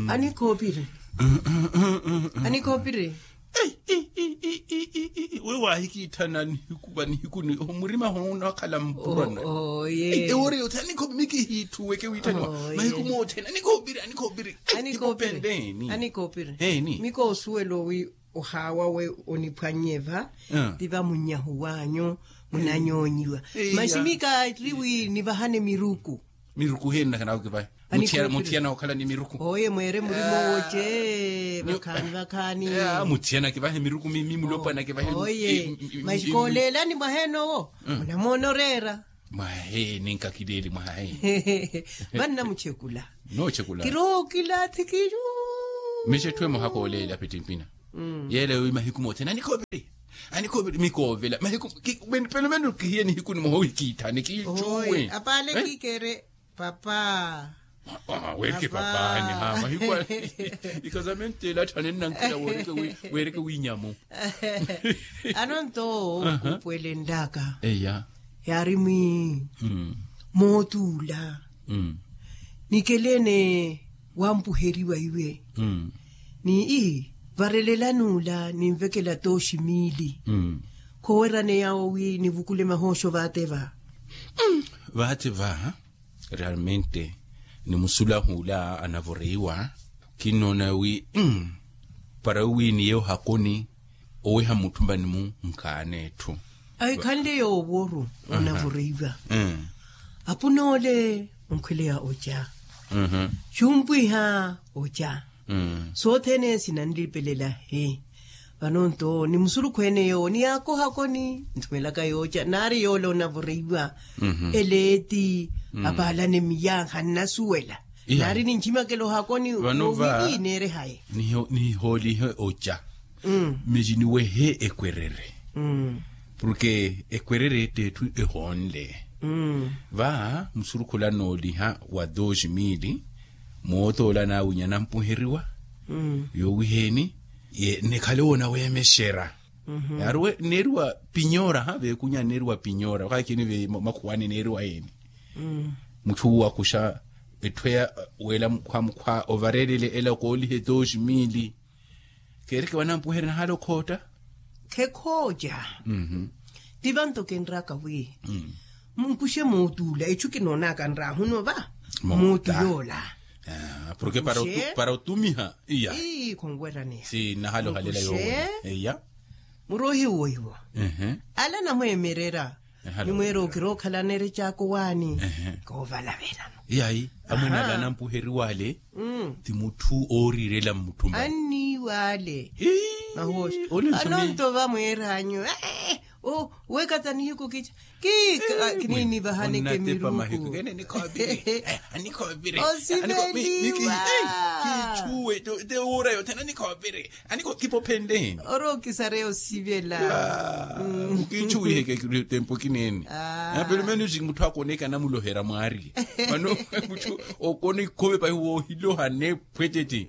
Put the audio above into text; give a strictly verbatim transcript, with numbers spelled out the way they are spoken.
Anikhoopiri. Anikhoopiri. Weyo waahikiitthana nihiku va nihiku ni murima hono onakhala mpurana. Ewori yothene anikhoopiri mikihiitthuweke wiitthaniwa. Mahiku moothene anikhoopiri anikhoopiri. Anikhoopiri. Miko osuwela owi ohaawawe oniphwannye va. Ti vamunnyahu wanyu munanyoonyiwa. Masi mikaari wi nivahane miruku. Miruku heni nakhanaka okivahe? Muthiyana okhala ni miruku oye mweere murimo woce vakhaani vakhaani. Muthiyana kivahe miruku mimi mulopwana kivahe. Oye masi kooleelani mwaheenowo munamoona oreera. Mwaheeni nkakileeli mwaheeni. Vanna muchekula. Nochekula. Kirookila thikiyu. Michetthu emoha kooleela pittimpina. Yeela yowi mahiku mothene anikhoopiri anikhoopiri mikoovela mahiku. Pelomelo kihiye nihiku nimoha ohikiitthani kiicuwe. Apaale kiikere papa. Werike papa ni ha mahiku. Ikazamenteela atthane nnankhela werike wiinyamu. Anonto kupwelenlaka eya. Yaari mwi mootuula nikeleene wampuheriwa iwe. Ni ii varelelani ula ninvekela tooxi miili. Khowerane yawo wi nivukule mahooxo vaate va. Vaate va realmente ni musulahu ula anavoreiwa. Kinnoona wi para wi niye ohakoni oweha mutthumani-mu nkhaana etthu. Ahikhanle yoowo oru onavoreiwa. Apun'ole onkhweleya oca. Xumpwiha oca. Sothene sinanlipelela he. Vano nto ni musurukhu ene yoowo ni yaakohakoni nthumelaka yooca naari yoole onavoreiwa. Eleeti apaalane miyankha nnasuwela. Naari ninchimakela ohakoni vano va nineerehaye. Nihoolihe oca. Meci niwehe ekwerere. Porke ekwerere t'etthu ehoonle. Va musurukhula nooliha wa dos mili mootoola naawinya nampuheriwa. Yoowiheeni nikhale woonaweemexera. Neeriwa pinyora ha veekunya neeriwa pinyora okhakhini ve makhuwani neeriwa yeeni. Mutthu wakuxa etthu eya weela mukhwa mukhwa ovareelele ela okoolihe dos mili. Keereke wanampuherya nahaala okhootta. Khekhooca. Ti vanto kinraka wi munkuxe mootuula etthu kinoonaka nraahunova. Mootu yoola. Porke para otumiha iya. Khonweraniha si nahaala ohalela yoola iya. Muroohi woiwo ala namweemerera. Nimweera okira okhalana erecaako waani. Koovalavelano. Yayi amwene ala anampuheriwa ale ti mutthu ooriirela mmutthumba anniiwa ale. Mahooxi anonto vamweeranyu. Wekata nihiku kica kiniinivahaneke miruku. Osiveeliwa. Kichuwe te wuura yothene anikhoopiri. Anikho kipophenleni. Oro okisareya osivela. Ukiichuwiheke tempo kineene. Pelomenos mutthu akoneka namulohera mwaari. Mano mutthu okona ikhove pahi woohiloha nephwetete.